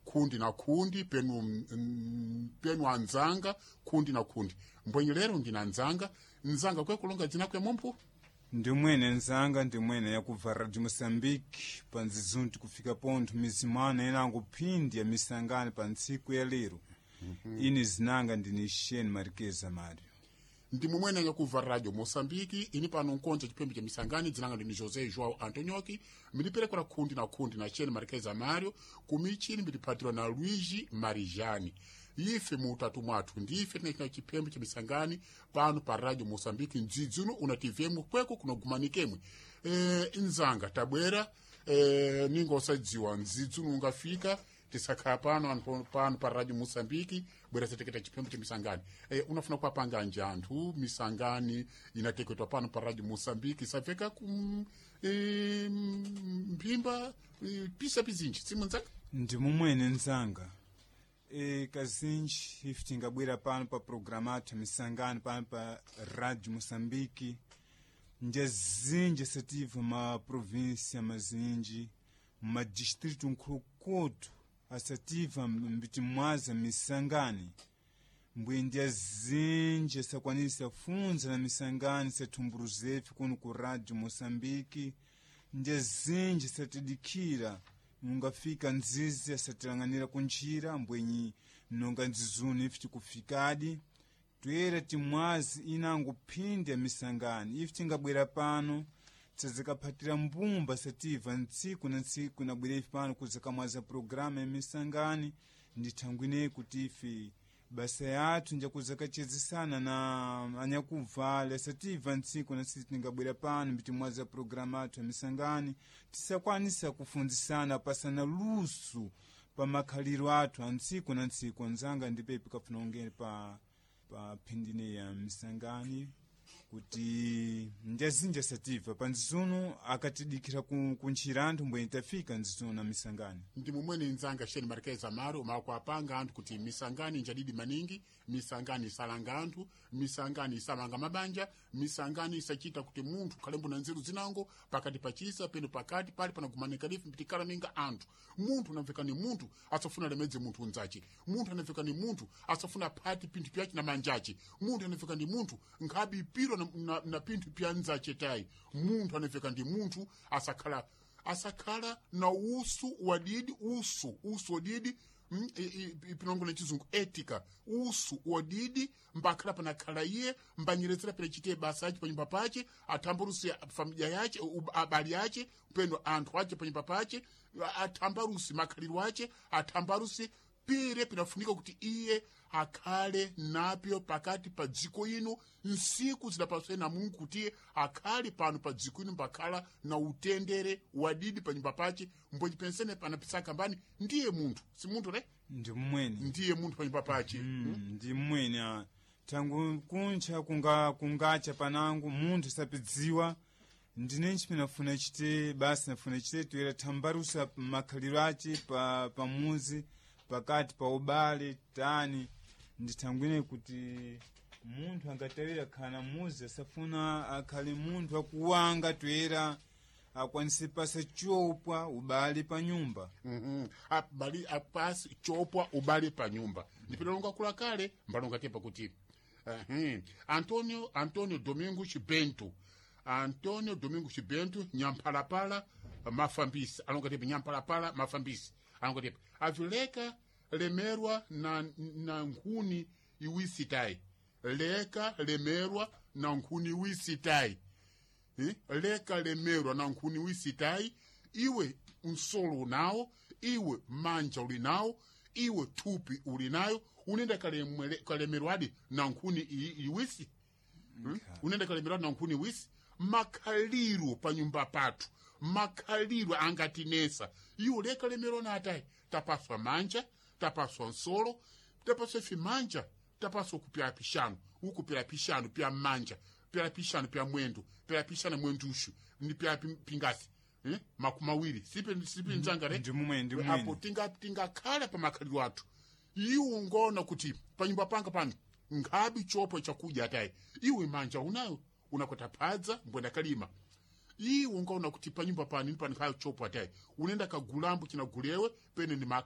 Kundi na kundi penu, penu anzanga kundi na kundi mbwenye lero ndina nzanga nzanga kwekulonga dzina kwe mumphu. Ndimwene nzanga, ndimwene yakubva Radio Moçambique panzizunti kufika pontho mizimana inango phindi ya misangano pa ntsiku ya lero. Ini zinanga ndini Shane Marquez Mario. Ndi mumwene yakubva Radio Moçambique ini pano nkonja chipembe cha misangani dzinanga ndini José João Antonioki miliperekera kundi na kundi na Shane Marquez Mario kumichini miliphatirwa na Luigi Marijani. Ife muutatu mwathu ndife tinachita chipembe cha misangani pano pa Radio Moçambique mdzidzi uno unativemwe kweko kunogumanikemwe. Nzanga tabwera, ninga usadziwa mdzidzi uno ungafika tisakhala pano anthu pano pa Radio Moçambique bwera sateketa chipembe cha misangani. Unafuna kuwapanga nji anthu misangani inateketwa pano pa Radio Moçambique isaveka ku mphimba, pisa pizinji simu nzanga. Ndi mumwene nzanga. Kazinji ife tingabwera pano pa programa athu misangano pano pa Radio Moçambique njazinji asativa ma província mazinji madistrito nkhulukutu asativa mbiti mwaza misangani mbwe ndyazinji asakwanisa funza na misangani sathumbuluzefe kuno ku Radio Moçambique ndyazinji satidikira nungafika nzizi asatilang'anira kunjira mbwenyi nonga nzizunu ife tikufikadi toyera timwazi inango phindi ya misangani ife tingabwera pano tsazikaphatira mbumba sativa ntsiku na ntsiku inabwera ife pano kuzakamwaza programa ya misangani ndithangwine kuti ife basa yathu njakuzakachezesana na anyakuvala sativa ntsiku na ntsiku tingabwera pano mbitimwaza programa athu ya misangani tisakwanisa kufunzisana pasana luso pa makhaliro athu a ntsiku na ntsiku. Nzanga ndipepi kafuna ungene pa phindine ya misangani kuti njazinja sativa pa nzizuno akatidikira kuntchira anthu mbwenye tafika nzizuno na misangani. Ndi mumwene nzanga Shane Marquez Amaro makuapanga anthu kuti misangani njadidi maningi, misangani isalanga anthu, misangani isamanga mabanja, misangani isachita kuti munthu khalembo na nzeru zinango pakati pachisa peno pakati pali panagumanika lifi mpitikala ninga anthu. Munthu anamveka ni munthu asafuna lemedze munthu unzace, munthu anamveka ni munthu asafuna phati pinthu pyace na manjace, munthu anamveka ni munthu nkhabi ipiro na pinthu pya nzace tayi. Munthu anamveka ndi munthu asakhala na usu wadidi usu wadidi, pinongo na chizungu etika usu wadidi mbakhala panakhala iye mbanyeretsera pena chite basa ace panyumba pace athambarusi familia yace abali ace peno anthu ace panyumba pace athambarusi makhaliro ace athambarusi pire pinafunika kuti iye akhale napyo pakati pa dziko ino nsiku zidapaswe na Mungu kuti iye akhale pano pa dziko ino mbakhala na utendere wadidi panyumba pace mbwenji pensene panapisaka mbani ndiye munthu si munthu ne Ndi mmwene. Ndiye munthu panyumba pace. Ndi mmwene tangu kuncha kungacha panango munthu sapidziwa ndinenchi pinafuna chite basi nafuna chite toyera thambarusa makhaliro ace pamuzi pakati pa ubale tani ndithangwine kuti munthu angatawira khana muzi asafuna akhale munthu akuwanga toyera akwanise pasa chopwa ubale pa nyumba. Abali apasi chopwa ubale pa nyumba ndipilonga kula kale mbalonga tepa kuti Antonio Domingo Chibento, Antonio Domingo Chibento nyamphalapala mafambisi alonga tepa nyamphalapala mafambisi alonga tepa avileka lemerwa na nkhuni iwisitayi leka lemerwa na nkhuni iwisitayi. Leka lemerwa na nkhuni wisitayi iwe msolo unawo iwe manja uli nawo iwe thupi uli nayo unenda kalemerwadi na nkhuni iwisi. Unenda kalemerwadi na nkhuni iwisi makhaliro pa nyumba pathu makhaliro angatinesa iwe leka lemerwa na atayi tapaswa manja tapaswa nsolo tapaswa ife manja tapaswa kupyala pixanu ukupyala pixanu pya manja pyala pixanu pya mwendo pyala pixanu mwendushu ni pyala pingasi, makumi awiri sipe nzanga re. Ndi mumwe ndi apo mwene. Tingakhala pa makhaliro athu iwe ungoona kuti panyumba panga pano nkhabi chopo chakudya atayi iwe manja unayo unakwata phadza mbwenda kalima iwe ungaona kuti panyumba pano ini pano nkhayo chopo atayi unenda kagulambo chinagulewe pene ni maka.